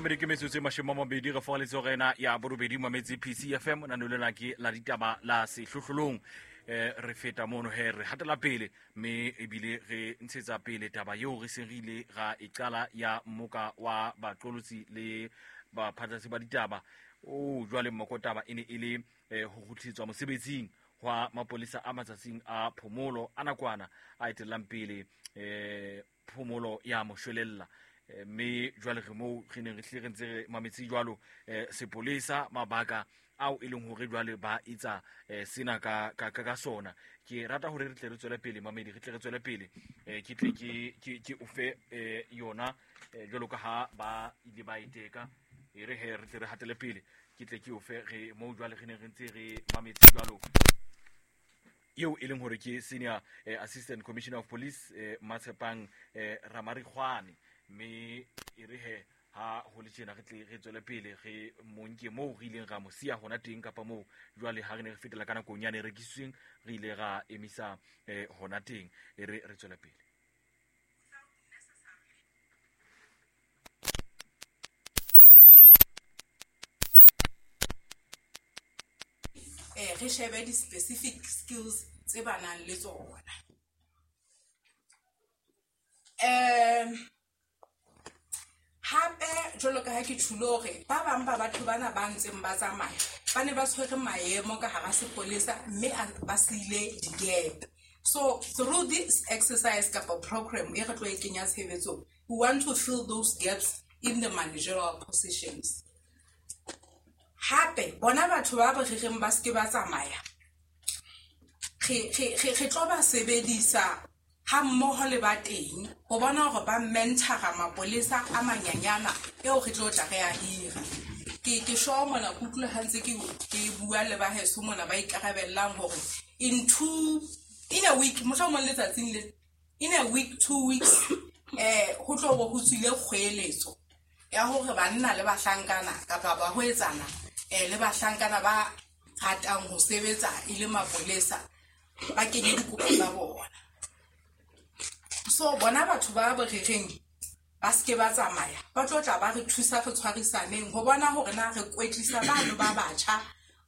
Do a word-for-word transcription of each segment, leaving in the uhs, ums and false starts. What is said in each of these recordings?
Mamedi ke metsotso e mashome a mabedi re fogaletse rena ya borobedi mametse P C F M na lena ke la ditaba la sehlohlolong. Eh re feta mono he re hatela pele mme ebile re ntshetsa pele taba eo re seng re ile ra e qala ya mmoka wa baqolotsi le baphatlatsi ba ditaba. O jwale mmokotaba e ne e le ho kgutlisetswa mosebetsing hwa mapolesa a matsatsing a phomolo a nakwana a etellang pele eh phomolo ya moshwelella. Mme jwale re moo re neng re hlile re ntse re mametse jwalo sepolesa mabaka ao e leng hore jwale ba etsa sena ka ka ka sona. Ke rata hore re tle re tswele pele mamedi, re tle re tswele pele ke tle ke ke ke o fe yona jwalo ka ha ba ile ba iteka e re he re tle re hatele pele ke tle ke o fe re moo jwale re neng re ntse re mametse jwalo eo e leng hore ke senior assistant commissioner of police Matshepang Ramarikgwane. Mme e re he ha ho le tjena re tle re tswele pele re monke moo re ileng ra mo siya hona teng kapa moo jwale ha re ne re fetela ka nakong yane re rekisitsweng re ile ra emisa hona teng e re re tswele pele. Eh re shebe di specific skills tse ba nang le tsona. Eh hape jwalo ka ha ke tjhulo hore ba bang ba batho bana ba ntseng ba tsamaya ba ne ba tshwere maemo ka hara sepolesa mme ba siile di-gap. So through this exercise kapa program e re tlo e kenya tshebetsong, we want to fill those gaps in the managerial positions. Hape bona batho ba ba rereng ba seke ba tsamaya re re re tlo ba sebedisa ha mmoho le ba teng ho bona hore ba mentora mapolesa a manyanyana eo re tlo tla re a hira. Ke ke sure mona ke utlwile ha ntse ke ke bua le ba heso mona ba ikarabellang hore in two in a week mohlomong letsatsing le in a week two weeks eh ho tlo bo ho tswile kgweletso ya hore banna le bahlankana kapa ba hoetsana eh le bahlankana ba ratang ho sebetsa e le mapolesa ba kenye dikopo tsa bona. So bona batho ba borereng ba seke ba tsamaya ba tlo tla ba re thusa re tshwarisaneng ho bona hore na re kwetlisa bano ba batjha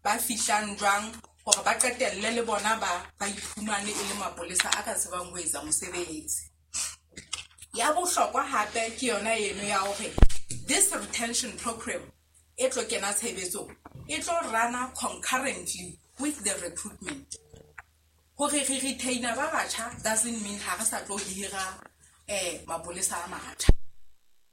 ba fihlang jwang hore ba qetelle le bona ba ba iphumane e le mapolesa a ka tsebang ho etsa mosebetsi. Ya bohlokwa hape ke yona eno ya hore this retention program e tlo kena tshebetsong e tlo rana concurrently with the recruitment. Hore re retainer ba batjha doesn't mean ha re sa tlo hira eh mapolesa a matjha.